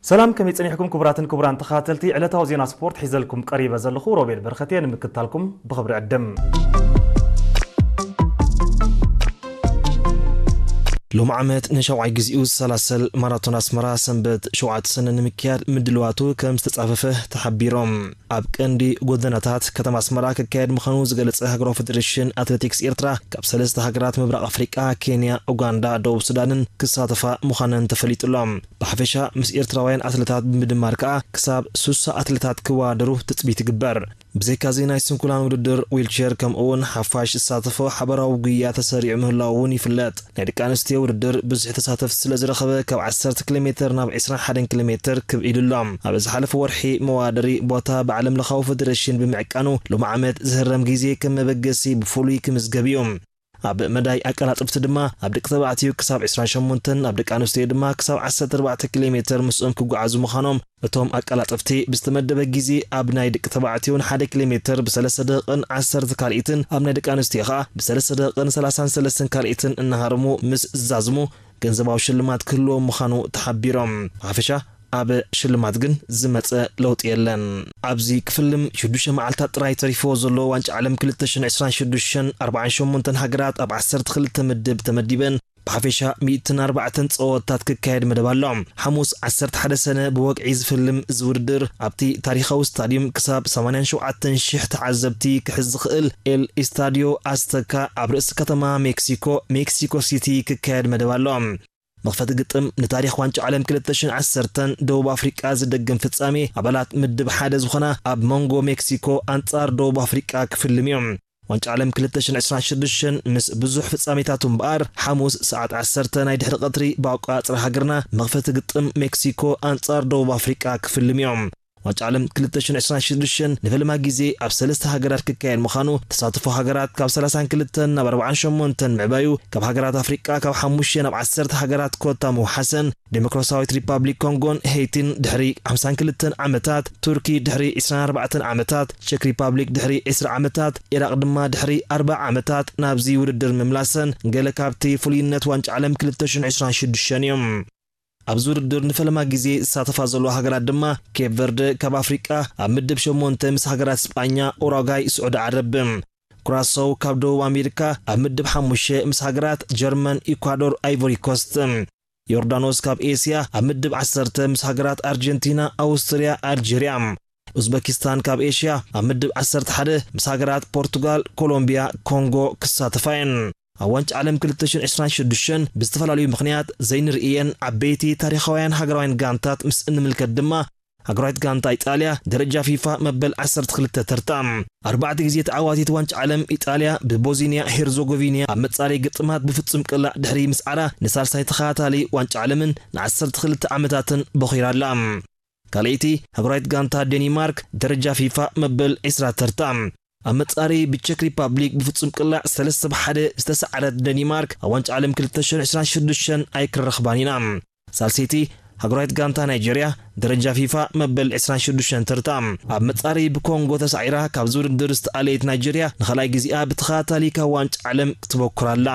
ሰላም፣ ከመይ ጸኒሕኩም ክቡራትን ክቡራን ተኸታተልቲ ዕለታዊ ዜና ስፖርት? ሒዘልኩም ቀሪበ ዘለኹ ሮቤል በረኸት እየ። ንምክትታልኩም ብኽብሪ ዕድም። ሎም ዓመት ንሻውዓይ ግዜኡ ዝሰላሰል ማራቶን ኣስመራ ሰንበት ሸውዓተ ሰነ ንምክያድ ምድልዋቱ ከም ዝተጻፈፈ ተሓቢሮም። ኣብ ቀንዲ ጎደናታት ከተማ ኣስመራ ክካየድ ምዃኑ ዝገለጸ ሃገራዊ ፌደሬሽን ኣትሌቲክስ ኤርትራ፣ ካብ ሰለስተ ሃገራት ምብራቕ ኣፍሪቃ፣ ኬንያ፣ ኡጋንዳ፣ ደቡብ ሱዳንን ክሳተፋ ምዃነን ተፈሊጡ ኣሎ። ብሓፈሻ ምስ ኤርትራውያን ኣትሌታት ብምድማር ከኣ ክሳብ ሱሳ ኣትሌታት ክወዳደሩ ትጽቢት ይግበር። ብዘይካዚ ናይ ስንኩላን ውድድር ዊልቸር ከምኡ እውን ሓፋሽ ዝሳተፎ ሓባራዊ ጉያ ተሰሪዑ ምህላው እውን ይፍለጥ። ናይ ደቂ ኣንስትዮ ውድድር ብዙሕ ተሳተፍቲ ስለ ዝረኸበ ካብ ዓሰርተ ኪሎ ሜትር ናብ ዕስራን ሓደን ኪሎ ሜትር ክብ ኢሉ ኣሎ። ኣብ ዝሓለፈ ወርሒ መወዳደሪ ቦታ ብዓለም ለኻዊ ፌደሬሽን ብምዕቃኑ ሎም ዓመት ዝህረም ግዜ ከም መበገሲ ብፍሉይ ክምዝገብ እዩ። ኣብ መዳይ ኣቀላጥፍቲ ድማ ኣብ ደቂ ተባዕትዮ ክሳብ ዕስራን ሸሞንተን፣ ኣብ ደቂ ኣንስትዮ ድማ ክሳብ ዓሰርተ ኣርባዕተ ኪሎ ሜትር ምስኦም ክጓዓዙ ምዃኖም እቶም ኣቀላጥፍቲ ብዝተመደበ ግዜ ኣብ ናይ ደቂ ተባዕትዮ ንሓደ ኪሎ ሜትር ብሰለስተ ደቂቕን ዓሰርተ ካልኢትን፣ ኣብ ናይ ደቂ ኣንስትዮ ኸኣ ብሰለስተ ደቂቕን ሰላሳን ሰለስተን ካልኢትን እናሃረሙ ምስ ዝዛዝሙ ገንዘባዊ ሽልማት ክህልዎም ምዃኑ ተሓቢሮም። ብሓፈሻ ኣብ ሽልማት ግን ዝመጸ ለውጢ የለን። ኣብዚ ክፍልም ሽዱሽተ መዓልታት ጥራይ ተሪፍዎ ዘሎ ዋንጫ ዓለም ክልተ ሽሕን ዕስራን ሽዱሽተን፣ ኣርባዓን ሸሞንተን ሃገራት ኣብ ዓሰርተ ክልተ ምድብ ተመዲበን ብሓፈሻ ሚእትን ኣርባዕተን ጸወታት ክካየድ መደብ ኣሎ። ሓሙስ ዓሰርተ ሓደ ሰነ ብወግዒ ዝፍልም እዚ ውድድር ኣብቲ ታሪኻዊ ስታድዩም ክሳብ ሰማንያን ሸውዓተን ሽሕ ተዓዘብቲ ክሕዝ ዝኽእል ኤል ኢስታድዮ ኣዝተካ ኣብ ርእሲ ከተማ ሜክሲኮ፣ ሜክሲኮ ሲቲ ክካየድ መደብ ኣሎ። መኽፈቲ ግጥም ንታሪኽ ዋንጫ ዓለም ክልተ ሽሕን ዓሰርተን ደቡብ ኣፍሪቃ ዝደግም ፍጻሜ ኣባላት ምድብ ሓደ ዝኾና ኣብ መንጎ ሜክሲኮ ኣንጻር ደቡብ ኣፍሪቃ ክፍልም እዩ። ዋንጫ ዓለም ክልተ ሽሕን ዕስራን ሽዱሽተን ምስ ብዙሕ ፍጻሜታቱ እምበኣር፣ ሓሙስ ሰዓት ዓሰርተ ናይ ድሕሪ ቀትሪ ብኣቆጻጽራ ሃገርና መኽፈቲ ግጥም ሜክሲኮ ኣንጻር ደቡብ ኣፍሪቃ ክፍልም እዮም። ዋንጫ ዓለም ክልተ ሽሕን ዕስራን ሽዱሽተን ንፈለማ ግዜ ኣብ ሰለስተ ሃገራት ክካየድ ምዃኑ፣ ተሳትፎ ሃገራት ካብ ሰላሳን ክልተን ናብ ኣርባዓን ሸሞንተን ምዕባዩ፣ ካብ ሃገራት ኣፍሪቃ ካብ ሓሙሽተ ናብ ዓሰርተ ሃገራት ኮታ ምውሓሰን፣ ዴሞክራሲያዊት ሪፓብሊክ ኮንጎን ሄይቲን ድሕሪ ሓምሳን ክልተን ዓመታት፣ ቱርኪ ድሕሪ ዕስራን ኣርባዕተን ዓመታት፣ ቸክ ሪፓብሊክ ድሕሪ ዕስራ ዓመታት፣ ኢራቕ ድማ ድሕሪ ኣርብዓ ዓመታት ናብዚ ውድድር ምምላሰን ገለ ካብቲ ፍሉይነት ዋንጫ ዓለም ክልተ ሽሕን ዕስራን ሽዱሽተን እዮም። ኣብዚ ውድድር ንፈለማ ግዜ ዝሳተፋ ዘለዋ ሃገራት ድማ ኬፕ ቨርደ ካብ ኣፍሪቃ ኣብ ምድብ ሸሞንተ ምስ ሃገራት ስጳኛ፣ ኡራጓይ፣ ስዑዲ ዓረብ። ኩራሳው ካብ ደቡብ ኣሜሪካ ኣብ ምድብ ሓሙሽተ ምስ ሃገራት ጀርመን፣ ኢኳዶር፣ ኣይቮሪ ኮስት። ዮርዳኖስ ካብ ኤስያ ኣብ ምድብ ዓሰርተ ምስ ሃገራት ኣርጀንቲና፣ ኣውስትርያ፣ ኣልጀርያ። ኡዝበኪስታን ካብ ኤሽያ ኣብ ምድብ ዓሰርተ ሓደ ምስ ሃገራት ፖርቱጋል፣ ኮሎምቢያ፣ ኮንጎ ክሳተፋ እየን። ኣብ ዋንጫ ዓለም ክልተ ሽሕን ዕስራን ሽዱሽተን ብዝተፈላለዩ ምኽንያት ዘይንርእየን ዓበይቲ ታሪኻውያን ሃገራውያን ጋንታት ምስ እንምልከት ድማ፣ ሃገራዊት ጋንታ ኢጣልያ ደረጃ ፊፋ መበል ዓሰርተ ክልተ ተርታ። ኣርባዕተ ግዜ ተዓዋቲት ዋንጫ ዓለም ኢጣልያ ብቦዝኒያ ሄርዞጎቪንያ ኣብ መጻረዪ ግጥማት ብፍጹም ቅላዕ ድሕሪ ምስዓራ ንሳልሳይ ተኸታታሊ ዋንጫ ዓለምን ንዓሰርተ ክልተ ዓመታትን ቦኺራ ኣላ። ካልኣይቲ ሃገራዊት ጋንታ ዴኒማርክ ደረጃ ፊፋ መበል ዕስራ ተርታ። ኣብ መጻረዪ ብቸክ ሪፓብሊክ ብፍጹም ቅላዕ ሰለስተ ብሓደ ዝተሰዓረት ደኒማርክ ኣብ ዋንጫ ዓለም ክልተ ሽሕን ዕስራን ሽዱሽተን ኣይክንረኽባን ኢና። ሳልሰይቲ ሃገራዊት ጋንታ ናይጀርያ ደረጃ ፊፋ መበል ዕስራን ሽዱሽተን ተርታ። ኣብ መጻረዪ ብኮንጎ ተሳዒራ ካብዚ ውድድር ዝተኣለየት ናይጀርያ ንኻልኣይ ግዜኣ ብተኸታታሊ ካብ ዋንጫ ዓለም ክትበኩር ኣላ።